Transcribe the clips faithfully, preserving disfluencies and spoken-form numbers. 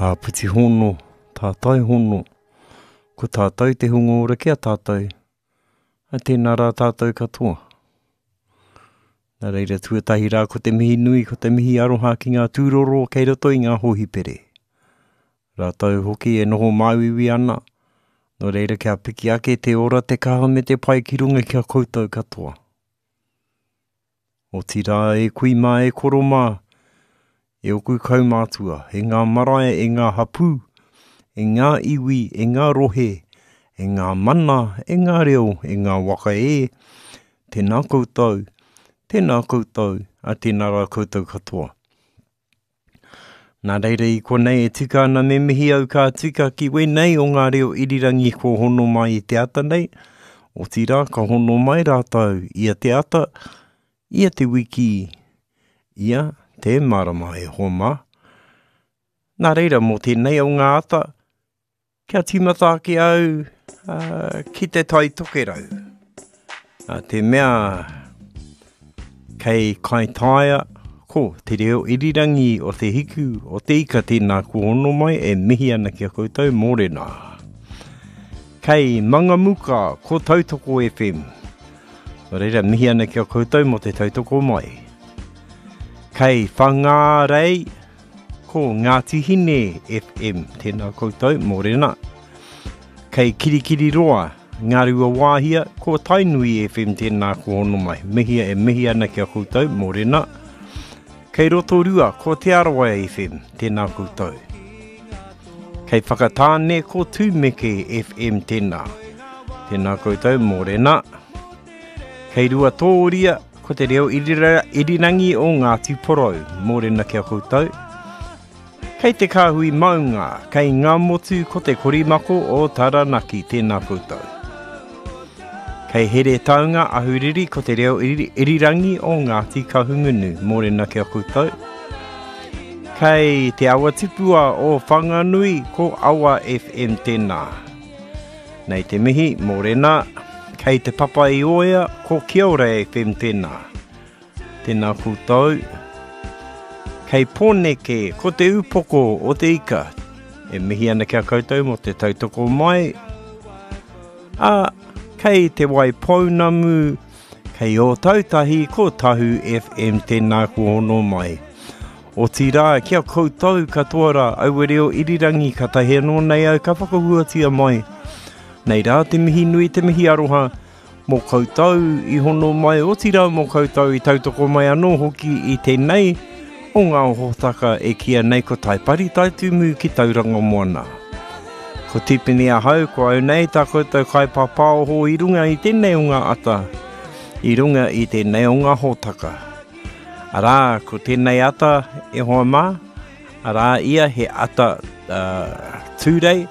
Āpiti hono, tātai hono, ko tātou te hunga ora ki a tātou, a tēnā rā tātou katoa. Nā reira tuatahi rā ko te mihi nui, ko te mihi aroha ki ngā tūroro kei roto i ngā hōhipere. Rātou hoki e noho māuiui ana, nō reira kia piki ake te ora, te kaha me te pai ki runga ki a koutou katoa. Otirā e kui mā, e koro mā, e oku kaumātua, e ngā marae, e ngā hapū, e ngā iwi, e ngā rohe, e ngā mana, e ngā reo, e ngā waka e, tēnā koutou, tēnā koutou, a tēnā rā koutou katoa. Nā reira i konei e tika ana me mihi au ka tika ki wēnei o ngā reo irirangi ko hono mai i te ata nei, otirā ka hono mai rātou ia te ata, ia te wiki, ia te marama e hoa mā. Nā reira mō tēnei o ngā ata, kia tīmata ake au uh, ki te Tai Tokerau. Uh, te mea kei Kaitaia, ko te reo irirangi o te hiku o te ika tēnā ko hono mai e mihi ana ki a koutou mōrena. Kei Mangamuka, ko Tautoko F M. Nō reira, mihi ana ki a koutou mō te tautoko mai. Kei Whangārei, ko Ngāti Hine F M, tēnā koutou, mōrena. Kei Kirikiriroa, Ngārua Wāhia, ko Tainui F M, tēnā ko hono mai. Mihia e mihi ana ki a koutou, mōrena. Kei Rotorua, ko Te Arawa F M, tēnā koutou. Kei Whakatāne, ko Tūmeke F M, tēnā. Tēnā koutou, mōrena. Kei Ruatōria, ko te reo irira, irirangi o Ngāti Porou, mōrena ki a koutou. Kei te Kāhui Maunga, kei ngā motu ko te Korimako o Taranaki, tēnā koutou. Kei Heretaunga Ahuriri ko te reo iri, irirangi o Ngāti Kahungunu, mōrena ki a koutou. Kei Te Awa Tipua o Whanganui ko Awa F M tēnā. Nei te mihi, mōrena. Kei Te Papa i Oea ko Kia Ora F M tēnā. Tēnā koutou. Kei Pōneke ko te upoko o te ika. E mihi ana ki a koutou mō te tautoko mai. A, kei Te Waipounamu, kei Ōtautahi ko Tahu F M tēnā ko hono mai. Otirā, ki a koutou katoa rā, aua reo irirangi ka tahi anō nei au ka whakahuatia mai. Nei rā te mihi nui, te mihi aroha, mō koutou i hono mai, otirā mō koutou i tautoko mai anō hoki i tēnei o ngā hōtaka e kīia nei ko Taipari Taitumu ki Tauranga Moana. Ko Tipene ahau, ko au nei tā koutou kaipāpāoho i runga i tēnei o ngā ata, i runga i tēnei o ngā hōtaka. Arā, ko tēnei ata e hoa mā, arā ia he ata uh, tūrei,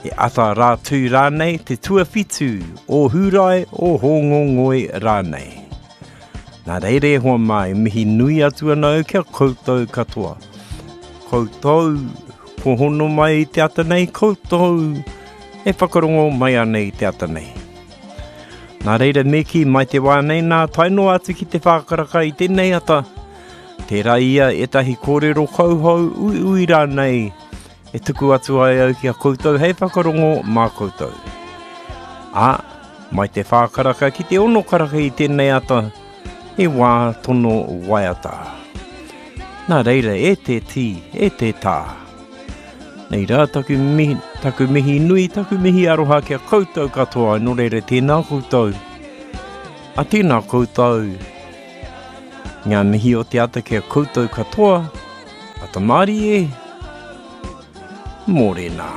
he ata rā tū rānei, te tuawhitu o Hūrae o Hōngongoi rānei. Nā reira e hoa mā, e mihi nui atu ana au kia koutou katoa. Koutou, ko hono mai i te ata nei, koutou e whakarongo mai ana i te ata nei. Nā reira me kī mai te wā nei nā tae noa atu ki te whākaraka i tēnei ata. Tērā ia ētahi kōrero kauhou uiui rānei e tuku atu ai au ki a koutou hei whakarongo mā koutou. Ā, mai te whākaraka ki te ono karaka i tēnei ata, e wā tono waiata. Nā reira, e te tī, e te tā. Nei rā taku mihi, taku mihi nui, taku mihi aroha ki a koutou katoa, nō reira tēnā koutou. A tēnā koutou. Ngā mihi o te ata ki a koutou katoa, ata mārie, mōrena.